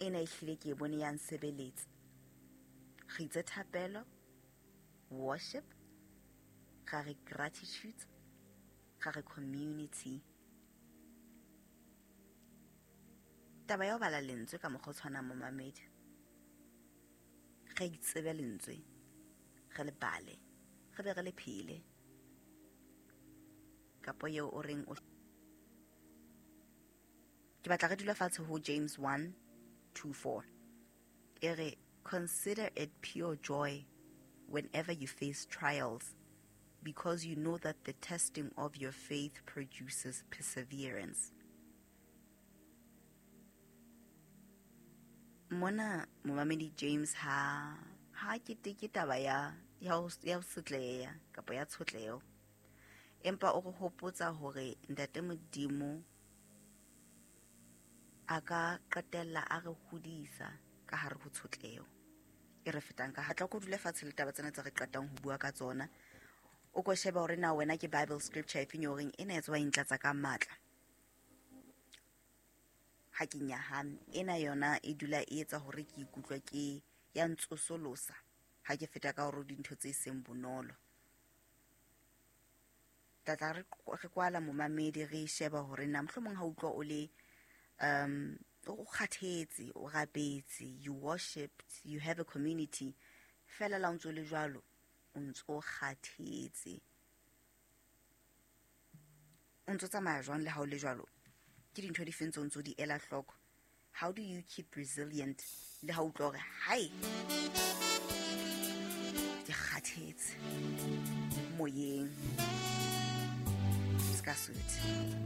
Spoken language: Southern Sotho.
Ena e hlile ke e bone ya nsebeletsa. Re itse thapelo, worship, ra re gratitude, ra re community. Taba ya ho bala lentswe ka mokgwa o tshwanang, momamedi, re itsebe lentswe, re le bale, re be re le phele. Kapo eo o reng o ke batla re dula fatshe ho James 1:2-4. E re, consider it pure joy whenever you face trials, because you know that the testing of your faith produces perseverance. Mona momamedi James ha keteke taba ya ho sotleha kapa ya tshotleho, empa o re hopotsa hore Ntate Modimo a ka qetella a re hodisa ka hare ho tshotleho e re fetang ka hatla. Ko dule fatshe le taba tsena tse re qetang ho bua ka tsona, o ko sheba hore na wena ke Bible scripture efeng eo reng ena e tswa e ntlatsa ka matla ha ke nyahame, ena yona e dula e etsa hore ke ikutlwe ke ya ntsosolosa ha ke feta ka hore dintho tse seng bonolo. Tla re kwala momamedi, re sheba hore na mohlomong ha utlwa o le o kgathetse, o rapetse, you worshipped, you have a community, fela la o ntso le jwalo, o ntso kgathetse, o ntso tsamaya jwang le ha o le jwalo? Ke dintho di feng tse o ntso di ela hloko? How do you keep resilient le ha utlwa hore hai ke kgathetse moyeng? Ska suit.